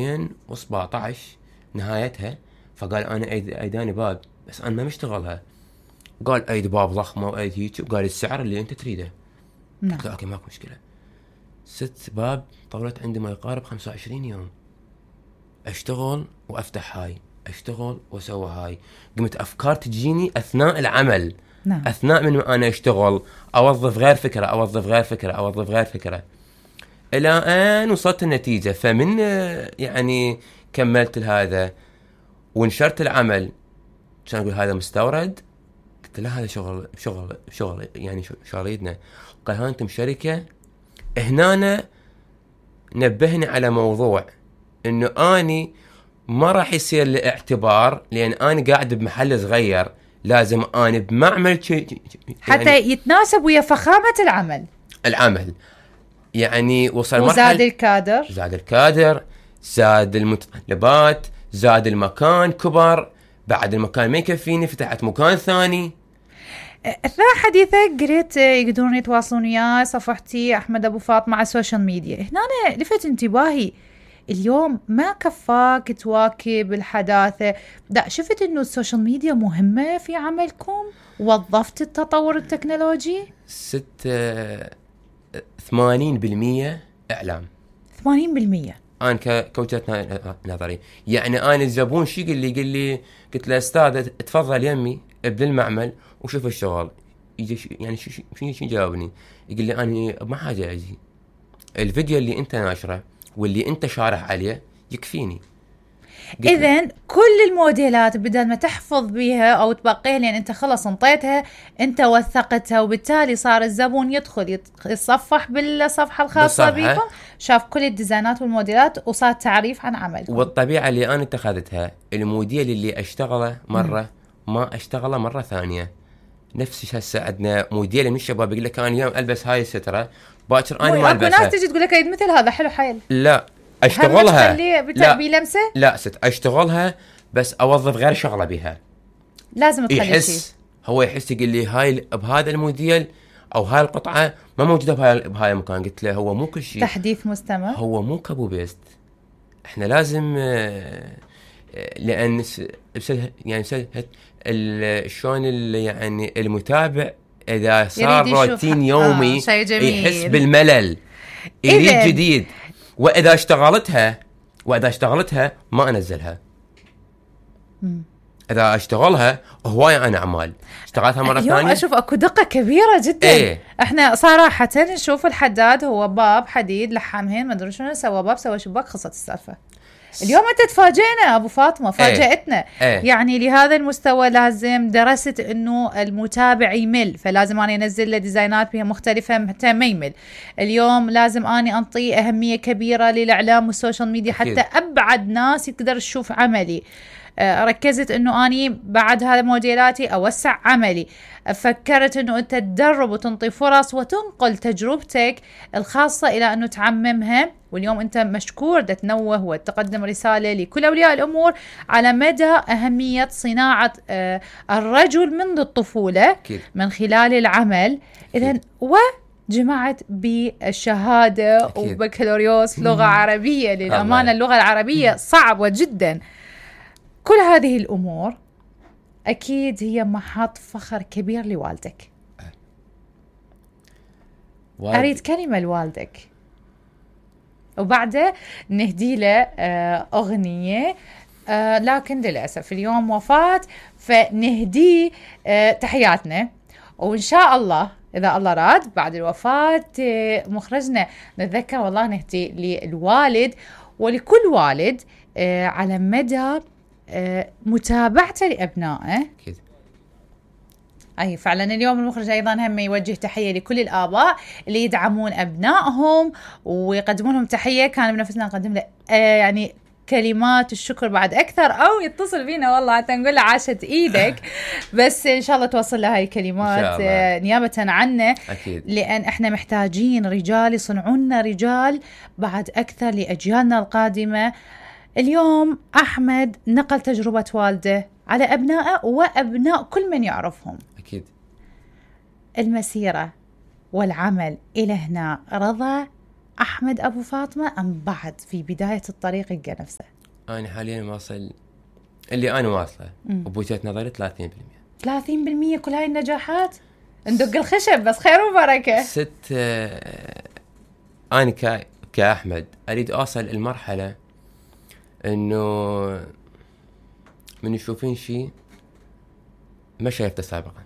2017 نهايتها. فقال انا ايداني باب بس انا ما مشتغلها. قال ايد باب ضخمه وايد هيك، وقال السعر اللي انت تريده. قلت له اوكي ماكو مشكله. 6 باب طولت عندي ما يقارب 25 يوم اشتغل وافتح هاي، اشتغل واسوي هاي. قمت افكار تجيني اثناء العمل. نعم. اثناء من انا اشتغل اوظف غير فكره اوظف غير فكره اوظف غير فكره الى ان وصلت النتيجه. فمن يعني كملت هذا ونشرت العمل. كان اقول هذا مستورد، قلت له هذا شغل يعني شغليتنا. قال ها انتم شركه. هنا نبهني على موضوع انه اني ما راح يصير لي اعتبار، لان اني قاعد بمحل صغير، لازم اني بمعمل يعني حتى يتناسب ويا فخامه العمل. يعني وصل وزاد الكادر، زاد المتطلبات، زاد المكان كبر. بعد المكان ما يكفيني فتحت مكان ثاني. اثناء حديثك قريت يقدرون يتواصلون وياي صفحتي احمد ابو فاطمه على السوشيال ميديا. هنا أنا لفت انتباهي اليوم ما كفاك تواكب الحداثه، لا شفت انه السوشيال ميديا مهمه في عملكم، وظفت التطور التكنولوجي. 80% اعلام. 80% انا كوجهه نظري. يعني انا الزبون شي قال لي قلت له استاذ تفضل يمي ابدا المعمل وشوف الشغل. يجي يعني شو جاوبني؟ يقول لي انا ما حاجه اجي، الفيديو اللي انت ناشره واللي انت شارح عليه يكفيني. اذن كل الموديلات بدل ما تحفظ بيها او تبقيها لان انت خلص انطيتها، انت وثقتها، وبالتالي صار الزبون يدخل يتصفح بالصفحه الخاصه بكم، شاف كل الديزاينات والموديلات وصار تعريف عن عملكم. والطبيعه اللي انا اتخذتها الموديل اللي اشتغله مره ما اشتغله مره ثانيه. نفس هسه عندنا موديل من الشباب يقول لك انا اليوم البس هاي الستره باكر انا ما البسها. ناس تجي تقول لك مثل هذا حلو حيل. لا اشتغلها. لا بلمسه. لا اشتغلها بس اوظف غير شغله بها. لازم تخلي يحس هو يحس يقول لي هاي بهذا الموديل او هاي القطعه ما موجوده بهاي المكان. قلت له هو مو كل شيء تحديث مستمر، هو مو كابو بيست. احنا لازم لان يعني شلون يعني المتابع اذا صار روتين يومي يحس بالملل، يريد جديد. واذا اشتغلتها ما انزلها. اذا اشتغلها هوايه انا اعمال اشتغلتها مره ثانيه. اشوف اكو دقه كبيره جدا. احنا صراحه نشوف الحداد هو باب حديد لحمهن ما ادري شنو سوى باب سوى شباك خلصت السالفه. اليوم انت تفاجئنا ابو فاطمه، فاجأتنا. يعني لهذا المستوى لازم درست انه المتابع يمل، فلازم اني انزل له ديزاينات بها مختلفه حتى ما يمل. اليوم لازم اني انطي اهميه كبيره للاعلام والسوشيال ميديا حتى ابعد ناس يقدر تشوف عملي. ركزت انه اني بعد هذا موديلاتي اوسع عملي. فكرت انه انت تدرب وتنطي فرص وتنقل تجربتك الخاصة الى انه تعممها. واليوم انت مشكور تنوه وتقدم رسالة لكل اولياء الامور على مدى اهمية صناعة الرجل منذ الطفولة من خلال العمل. اذن جمعت بالشهادة وبكالوريوس لغة عربية. للأمانة اللغة العربية صعبة جدا. كل هذه الأمور أكيد هي محط فخر كبير لوالدك. أريد كلمة لوالدك وبعده نهدي له أغنية، لكن للأسف اليوم وفاة فنهدي تحياتنا. وإن شاء الله إذا الله راد بعد الوفاة مخرجنا نتذكر والله نهدي للوالد ولكل والد على مدى متابعته لأبنائه. أكيد. أي فعلا اليوم المخرج أيضا هم يوجه تحية لكل الآباء اللي يدعمون أبنائهم ويقدمون لهم تحية. كان بنفسنا نقدم له يعني كلمات الشكر بعد أكثر، أو يتصل بينا والله حتى نقول له عاشت إيدك. بس إن شاء الله توصل له هاي الكلمات نيابة عنه. أكيد. لأن إحنا محتاجين رجال يصنعون رجال بعد أكثر لأجيالنا القادمة. اليوم أحمد نقل تجربة والده على أبنائه وأبناء كل من يعرفهم. أكيد. المسيرة والعمل إلى هنا رضا أحمد أبو فاطمة أم بعد في بداية الطريق يلقى نفسه؟ أنا حاليا واصل اللي أنا واصله وبوجهة نظري 30%. كل هاي النجاحات ندق الخشب بس خير وبركة. أنا كأحمد أريد أوصل المرحلة إنه من يشوفين شيء ما شايفته سابقا.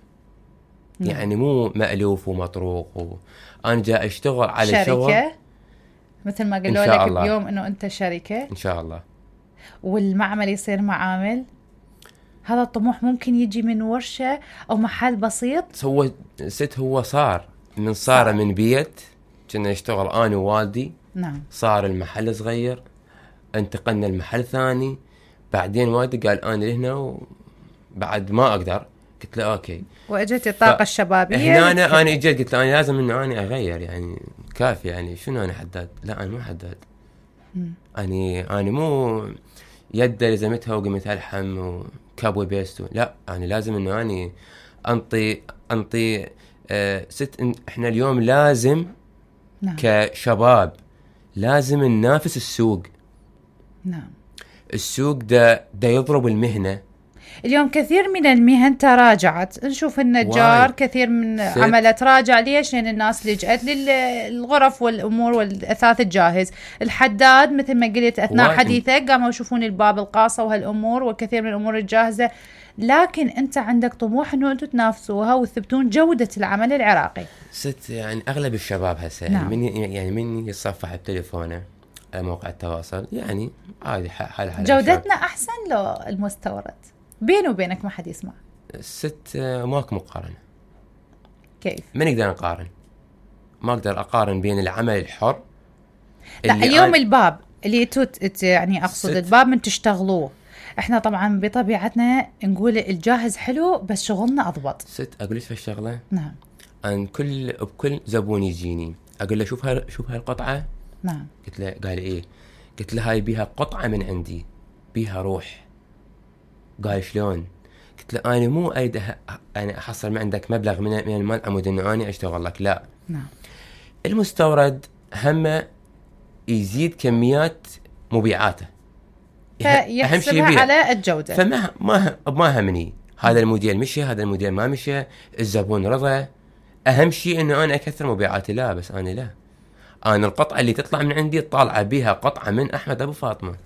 يعني مو مألوف ومطروق أنا جاي أشتغل على شركة شغل مثل ما قالوا لك بيوم إنه أنت شركة إن شاء الله، والمعمل يصير معامل. هذا الطموح ممكن يجي من ورشة أو محل بسيط. هو صار من بيت كنا نشتغل أنا ووالدي. نعم. صار المحل صغير، انتقلنا المحل ثاني، بعدين والدي قال أنا لهنا وبعد ما أقدر. قلت له أوكي، وأجت الطاقة الشبابية هنا أنا إجيت قلت له أنا لازم إنه أنا أغير، يعني كافي، يعني شنو أنا حداد؟ لا أنا مو حداد. أنا مو يد لزمتها وقمتها الحم وكابوي بيستو، لا أنا لازم إنه أنا أنطي إحنا اليوم لازم نعم. كشباب لازم ننافس السوق. نعم. السوق ده يضرب المهنة. اليوم كثير من المهن تراجعت، نشوف النجار كثير من عمله تراجع. ليش؟ لأن الناس لجأت للغرف والأمور والأثاث الجاهز. الحداد مثل ما قلت أثناء حديثك قاموا يشوفون الباب القاصة وهالأمور وكثير من الأمور الجاهزة، لكن أنت عندك طموح أنه أنتم تنافسوها وتثبتون جودة العمل العراقي. يعني أغلب الشباب هسه نعم. من يصفح بتليفونه على موقع التواصل، يعني عادي حال جودتنا أحسن لو المستورد. بيني وبينك ما حد يسمع. ماكو مقارنة. كيف؟ ما نقدر نقارن. ما أقدر أقارن بين العمل الحر. لا اليوم الباب اللي يعني أقصد الباب من تشتغلوه. إحنا طبعا بطبيعتنا نقول الجاهز حلو بس شغلنا أضبط. أقول لك في الشغلة. نعم. أن بكل زبون يجيني أقول له شوف هاي القطعة. نعم. قلت له قال إيه؟ قلت له هاي بيها قطعة من عندي، بيها روح. قال شلون؟ قلت له أنا مو أريد أنا أحصل ما عندك مبلغ من المال عمود إنه أنا أشتغل لك، لا. نعم. المستورد همه يزيد كميات مبيعاته، فيحسبها على الجودة. فما ما همني هذا الموديل مشي، هذا الموديل ما مشي، الزبون رضى. أهم شيء إنه أنا أكثر مبيعاتي. لا بس أنا أنا القطعة اللي تطلع من عندي طالعة بها قطعة من أحمد أبو فاطمة.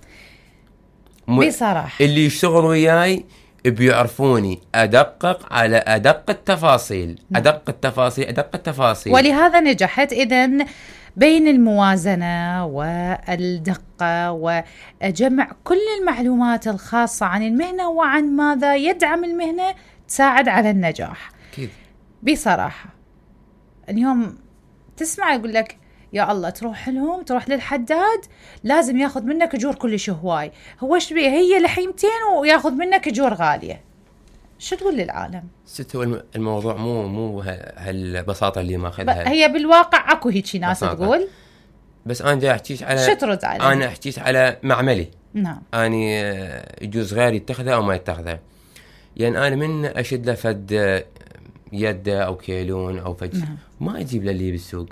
بصراحة اللي يشتغلوا وياي بيعرفوني أدقق على أدق التفاصيل. نعم. أدق التفاصيل. ولهذا نجحت إذن بين الموازنة والدقة وجمع كل المعلومات الخاصة عن المهنة وعن ماذا يدعم المهنة تساعد على النجاح. أكيد. بصراحة اليوم تسمع يقول لك يا الله تروح للحداد لازم ياخذ منك اجور كلش هواي، هو ايش بيه؟ هي لحيمتين وياخذ منك اجور غاليه. شو تقول للعالم؟ هو الموضوع مو هالبساطه اللي ماخذها. هي بالواقع اكو هيك ناس تقول، بس انا جاي احكيش على شو ترد عليه؟ انا احكيش على معملي. نعم. اني يجوز غيري يتخذه او ما يتخذه، يعني انا من اشد له فد يده او كيلون او فد. نعم. ما اجيب له اللي بالسوق.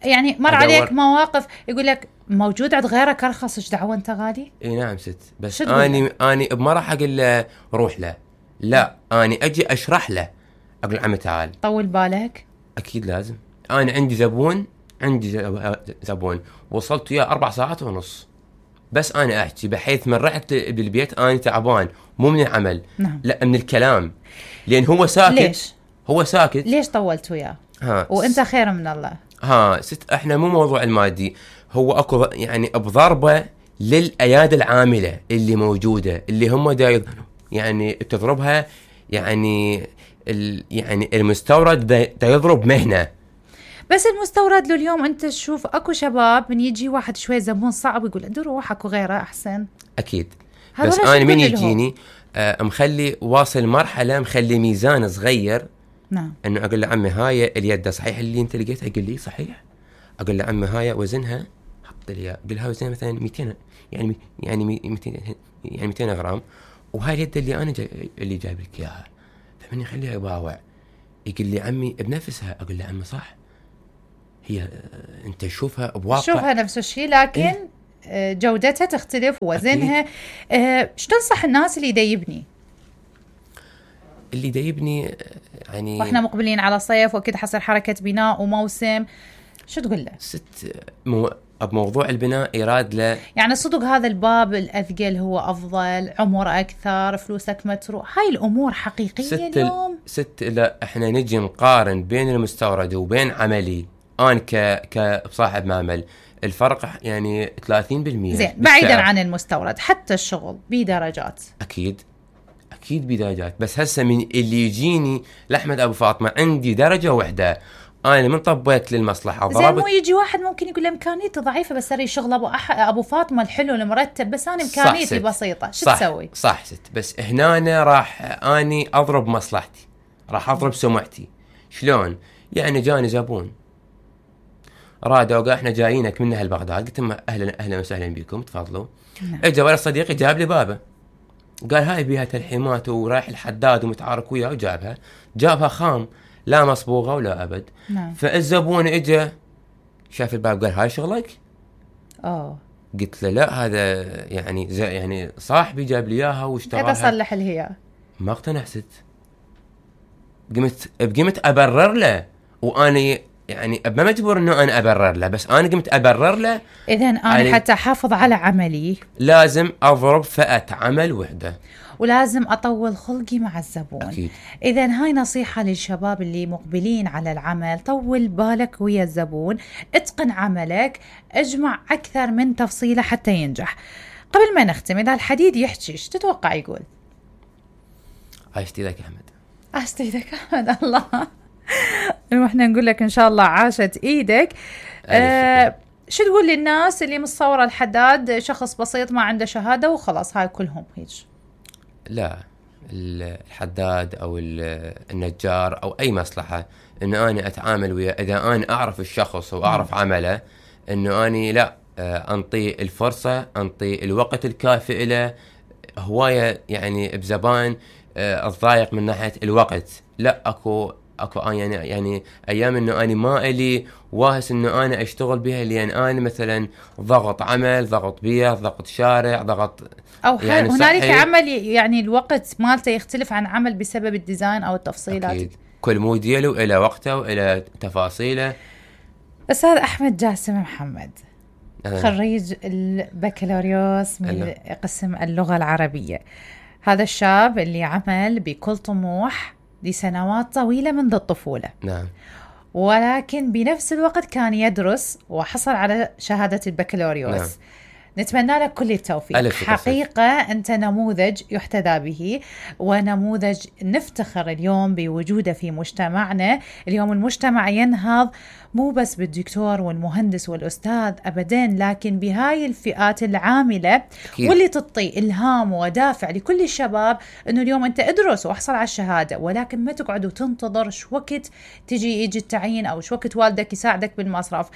يعني مر عليك مواقف يقول لك موجود عند غيرك ارخص، ايش دعوه انت غالي؟ اي نعم بس اني بما راح اقول له روح له، لا اني اجي اشرح له، اقول عمي تعال طول بالك. اكيد لازم. انا عندي زبون وصلت وياه 4 ساعات ونص، بس انا احكي بحيث من رحت بالبيت انا تعبان، مو من العمل. نعم. لا من الكلام، لان هو ساكت. ليش؟ هو ساكت. ليش طولت وياه؟ وانت خير من الله. احنا مو موضوع المادي، هو اكو يعني بضربه للايادي العامله اللي موجوده، اللي هم يعني تضربها، يعني يعني المستورد دا يضرب مهنه. بس المستورد له اليوم انت تشوف اكو شباب من يجي واحد شوي زبون صعب يقول عنده روح اكو غيره احسن. اكيد. بس انا من يجيني مخلي واصل مرحله مخلي ميزان صغير. نعم. انه اقول له عمي هاي اليد صحيح اللي انت لقيتها؟ يقول لي صحيح. اقول له عمي هاي وزنها، حط لي اقول له وزنها مثلا 200، يعني 200 غرام، وهاي اليد اللي انا اللي جايب لك اياها. فمن يخليها يباوع يقول لي عمي بنفسها. اقول له عمي صح. هي انت تشوفها بواقع، شوفها نفس الشيء لكن جودتها تختلف ووزنها. ايش تنصح الناس اللي يبني يعني واحنا مقبلين على صيف واكيد حصل حركة بناء وموسم، شو تقول له؟ بموضوع البناء يراد له يعني صدق هذا الباب الأثقل هو أفضل، عمر أكثر، فلوسك متروح، هاي الأمور حقيقية اليوم. لا احنا نجي نقارن بين المستورد وبين عملي، أنا كصاحب معمل الفرق يعني 30%. زين بعيدا عن المستورد حتى الشغل بدرجات، أكيد بدرجات، بس هسه من اللي يجيني لأحمد أبو فاطمة عندي درجة واحدة، أنا من طبيت للمصلحة زين مو يجي واحد ممكن يقول إمكانيته ضعيفة بس أري شغل أبو فاطمة الحلو المرتب، بس أنا إمكانيتي بسيطة، شو تسوي؟ صح ست، بس هنا راح أني أضرب مصلحتي، راح أضرب سمعتي. شلون؟ يعني جاني زبون رادوا قال إحنا جايينك من أهل بغداد، قلت لهم أهلا وسهلا بكم تفضلوا. إجا ولد صديقي جاب لي بابه، قال هاي بيها تلحيمات ورايح الحداد ومتعارك وياه، جابها خام لا مصبوغة ولا أبد. فالزبون إجا شاف الباب قال هاي شغلك؟ قلت له لا هذا يعني صاحبي جاب لي إياها واشتراها، كيف أصلح الهيا؟ ما اقتنع ست، قمت أبرر له، وأنا يعني ما مجبور إنه أنا أبرر له، بس أنا قمت أبرر له. إذن أنا حتى أحافظ على عملي لازم أضرب فئة عمل وحدة، ولازم أطول خلقي مع الزبون. أكيد. إذن هاي نصيحة للشباب اللي مقبلين على العمل، طول بالك ويا الزبون، اتقن عملك، اجمع أكثر من تفصيلة حتى ينجح. قبل ما نختم، إذا الحديد يحكي ايش تتوقع يقول؟ عاشت ايدك أحمد. عاشت ايدك أحمد. الله واحنا نقول لك إن شاء الله عاشت ايدك. شو تقول للناس اللي متصورة الحداد شخص بسيط ما عنده شهادة وخلاص هاي كلهم هيك؟ لا، الحداد أو النجار أو أي مصلحة إنه أنا أتعامل ويا، إذا أنا أعرف الشخص وأعرف عمله، إنه أنا لا أنطي الفرصة، أنطي الوقت الكافي له. هواية يعني بزبان الضايق من ناحية الوقت، لا أكو يعني أيام إنه أنا ما إلي واهس إنه أنا أشتغل بها، لأن أنا مثلا ضغط عمل، ضغط بيئة، ضغط شارع، ضغط أو يعني هنالك عمل يعني الوقت مالته يختلف عن عمل بسبب الديزاين أو التفصيلات. أكيد. كل موديل إلى وقته وإلى تفاصيله. أستاذ أحمد جاسم محمد، خريج البكالوريوس من قسم اللغة العربية، هذا الشاب اللي عمل بكل طموح لسنوات طويلة منذ الطفولة. نعم. ولكن بنفس الوقت كان يدرس وحصل على شهادة البكالوريوس. نعم. نتمنى لك كل التوفيق. حقيقة أنت نموذج يحتذى به، ونموذج نفتخر اليوم بوجوده في مجتمعنا. اليوم المجتمع ينهض مو بس بالدكتور والمهندس والأستاذ أبداً، لكن بهاي الفئات العاملة واللي تعطي إلهام ودافع لكل الشباب أنه اليوم أنت ادرس وأحصل على الشهادة، ولكن ما تقعد وتنتظر شو وقت يجي التعيين أو شو وقت والدك يساعدك بالمصرف.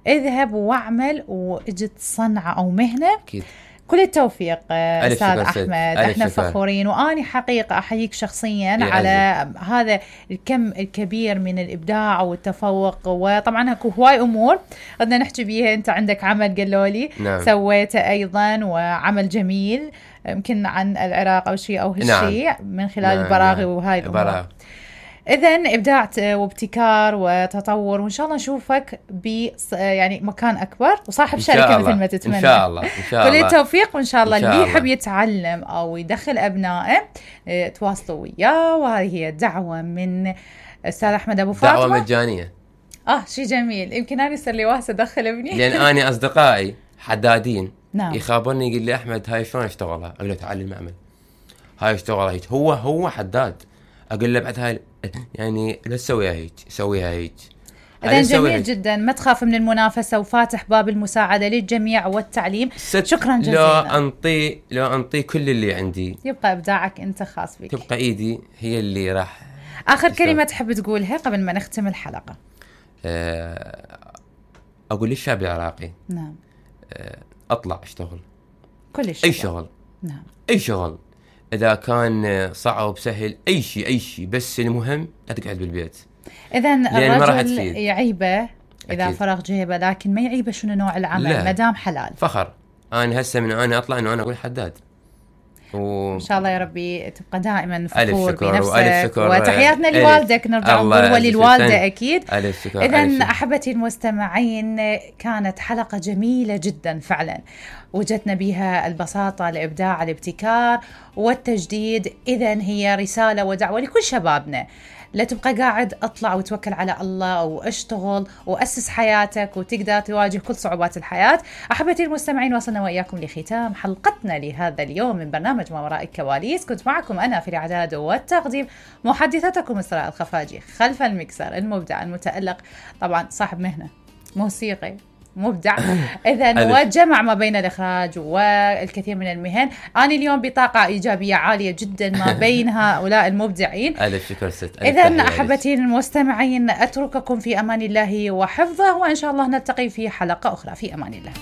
اذهب واعمل واجد صنعة أو مهنة. أكيد. كل التوفيق أستاذ أحمد، احنا فخورين، وأني حقيقة أحييك شخصيا على هذا الكم الكبير من الإبداع والتفوق. وطبعا هكو هواي أمور بدنا نحكي بيها، أنت عندك عمل قالوا لي سويته أيضا، وعمل جميل يمكن عن العراق أو شيء أو هالشيء من خلال البراغي وهاي الأمور. إذن إبداع وابتكار وتطور، وإن شاء الله نشوفك يعني مكان أكبر وصاحب شركة مثل ما تتمنى. إن شاء الله كل التوفيق، وإن شاء الله اللي يحب يتعلم أو يدخل أبنائه تواصلوا وياه. وهذه هي دعوة من أستاذ أحمد أبو فاطمة، دعوة مجانية. شيء جميل. يمكن أنا يصير لي واسة أدخل ابني، لأن أنا أصدقائي حدادين نعم. يخابرني يقول لي أحمد هاي شلون اشتغلها؟ أقول له تعال المعمل، هاي اشتغلها هيك، هو حداد. أقول له بعد هاي يعني لا تسويها هيك، سويها هيك. إذن جميل جدا، ما تخاف من المنافسة، وفاتح باب المساعدة للجميع والتعليم. شكرا جزيلا. لو أنطي كل اللي عندي، يبقى إبداعك أنت خاص بك، تبقى إيدي هي اللي راح. آخر كلمة تحب تقولها قبل ما نختم الحلقة؟ أقول للشعب العراقي، نعم، أطلع اشتغل كل شيء، أي شغل، نعم، أي شغل، إذا كان صعب سهل، أي شيء، بس المهم لا تقعد بالبيت. إذن الرجل يعيبه إذا فرغ جيبه، لكن ما يعيبه شنو نوع العمل ما دام حلال. فخر. أنا هسه من أنا أطلع إنه أنا أقول حداد. إن شاء الله يا ربي تبقى دائما فخور بنفسك. وتحياتنا لوالدك، نرجع نقول وللوالدة أكيد. إذن أحبتي المستمعين، كانت حلقة جميلة جدا فعلا، وجدنا بها البساطة، الإبداع، الابتكار والتجديد. إذن هي رسالة ودعوة لكل شبابنا، لا تبقى قاعد، اطلع وتوكل على الله واشتغل وأسس حياتك وتقدر تواجه كل صعوبات الحياة. أحبتي المستمعين، وصلنا وإياكم لختام حلقتنا لهذا اليوم من برنامج ما وراء الكواليس. كنت معكم أنا في الإعداد والتقديم محدثتكم إسراء الخفاجي، خلف المكسر المبدع المتألق، طبعا صاحب مهنة موسيقي مبدع إذن، وجمع ما بين الإخراج والكثير من المهن. أنا اليوم بطاقة إيجابية عالية جدا ما بين هؤلاء المبدعين. ألف شكر ست. إذن أحبتي المستمعين، أترككم في أمان الله وحفظه، وإن شاء الله نلتقي في حلقة أخرى. في أمان الله.